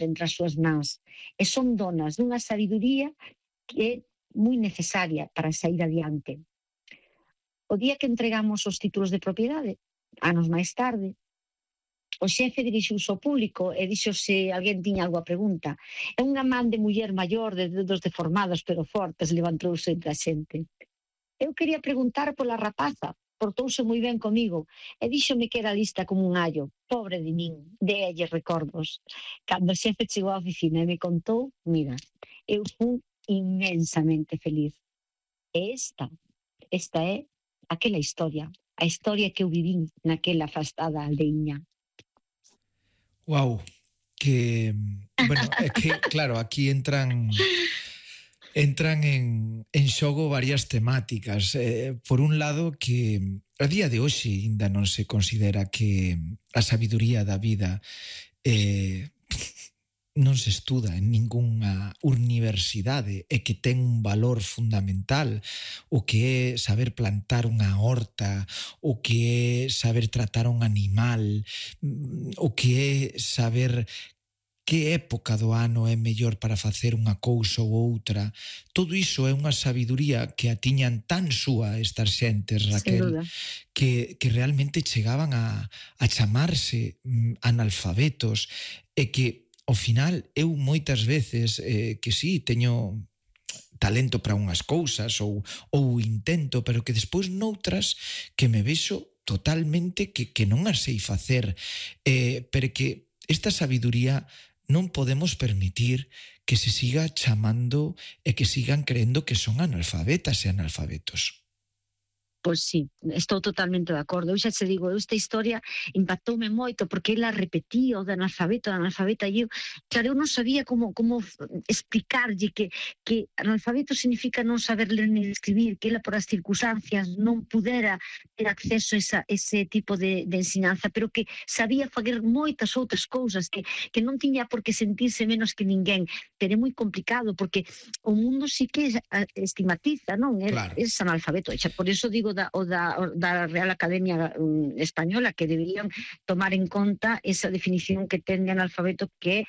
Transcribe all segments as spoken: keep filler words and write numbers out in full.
entre as súas mans e son donas dunha sabiduría que é moi necesaria para sair adiante. O día que entregamos os títulos de propiedade, anos máis tarde, o xefe dirixiuse ao público e dixo se alguén tiña algo a pregunta. E unha man de muller maior, de dedos deformados pero fortes, levantouse entre a xente. Eu quería preguntar pola rapaza, portouse moi ben comigo e díxome que era lista como un allo. Pobre de min, déelle recordos. Cando o xefe chegou á oficina e me contou, mira, eu fui inmensamente feliz. E esta, esta é aquela historia, a historia que eu vivín naquela afastada aldeiña. Wow, que, bueno, é que, claro, aquí entran entran en, en xogo varias temáticas. Eh, por un lado, que a día de hoxe ainda non se considera que a sabiduría da vida eh, non se estuda en ningunha universidade e que ten un valor fundamental, o que é saber plantar unha horta, o que é saber tratar un animal, o que é saber que época do ano é mellor para facer unha cousa ou outra. Todo iso é unha sabiduría que a tiñan tan súa estas xentes, Raquel, que, que realmente chegaban a, a chamarse mm, analfabetos e que ao final eu moitas veces eh, que sí, teño talento para unhas cousas ou, ou intento, pero que despois noutras que me vexo totalmente que, que non as sei facer, eh, pero que esta sabiduría non podemos permitir que se siga chamando e que sigan creendo que son analfabetas e analfabetos. Pois sí, estou totalmente de acordo. Eu xa te digo, esta historia impactoume moito porque ela repetía o de analfabeto, de analfabeta, e eu, claro, eu non sabía como, como explicarlle que, que analfabeto significa non saber ler ni escribir, que ela por as circunstancias non pudera ter acceso a esa, ese tipo de, de ensinanza, pero que sabía fazer moitas outras cousas, que, que non tiña por que sentirse menos que ninguén. Pero é moi complicado porque o mundo sí que estigmatiza, non? Claro. É analfabeto, xa por iso digo Da, o da, o da Real Academia um, Española que deberían tomar en conta esa definición que ten de analfabeto, que é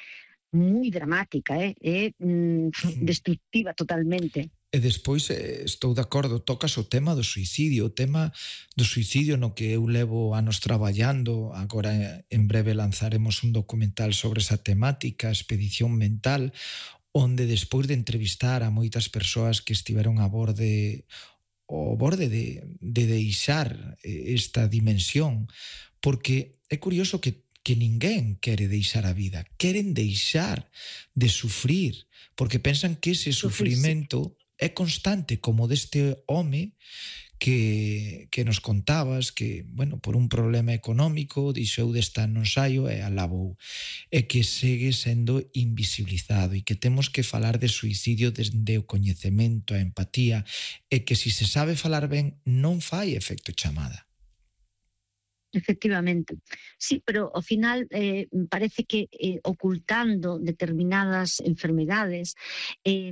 moi dramática, é eh? mm, destructiva totalmente. E despois, eh, estou de acordo, tocas o tema do suicidio, o tema do suicidio no que eu levo anos traballando. Agora en breve lanzaremos un documental sobre esa temática, Expedición Mental, onde despois de entrevistar a moitas persoas que estiveron a borde o borde de, de deixar esta dimensión, porque é curioso que, que ninguén quere deixar a vida, queren deixar de sufrir, porque pensan que ese sufrimento é constante, como deste home que, que nos contabas, que, bueno, por un problema económico dixou desta non saio e alabou, e que segue sendo invisibilizado, e que temos que falar de suicidio desde o coñecemento, a empatía, e que se si se sabe falar ben non fai efecto chamada. Efectivamente, sí, pero ao final eh, parece que eh, ocultando determinadas enfermedades, eh,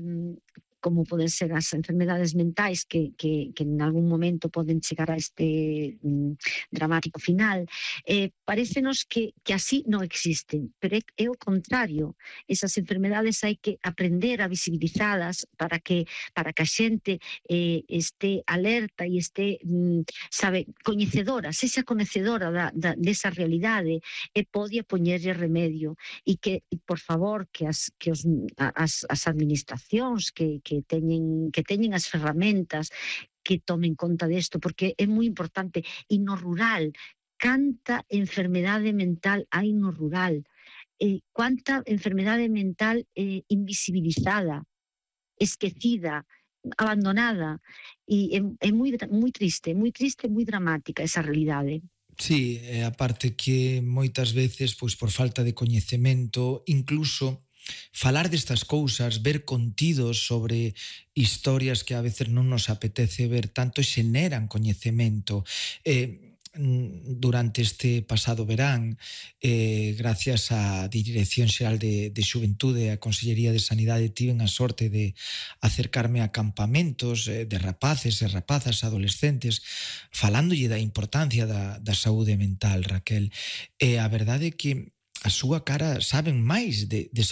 como poden ser as enfermedades mentais que, que, que en algún momento poden chegar a este mm, dramático final, eh, parecenos que, que así non existen, pero é, é o contrario. Esas enfermedades hai que aprender a visibilizadas para que, para que a xente eh, este alerta e este, mm, sabe, coñecedora, sexa coñecedora da, da, desa realidade e podia poñerlle remedio, e que, por favor, que as, que os, as, as administracións que que teñen, que teñen as ferramentas que tomen conta desto, porque é moi importante. E no rural, canta enfermedade mental hai no rural, eh, cuánta enfermedade mental eh, invisibilizada, esquecida, abandonada, e é, é moi, moi triste, moi triste, moi dramática esa realidade. Sí, e aparte que moitas veces, pois por falta de coñecemento, incluso falar destas cousas, ver contidos sobre historias que a veces non nos apetece ver tanto, xeneran coñecemento. Eh, durante este pasado verán, eh, gracias á Dirección Xeral de, de Xuventude e a Consellería de Sanidade, tiven a sorte de acercarme a campamentos eh, de rapaces e rapazas adolescentes falándolle da importancia da, da saúde mental, Raquel. E a verdade é que a súa cara, saben máis de, de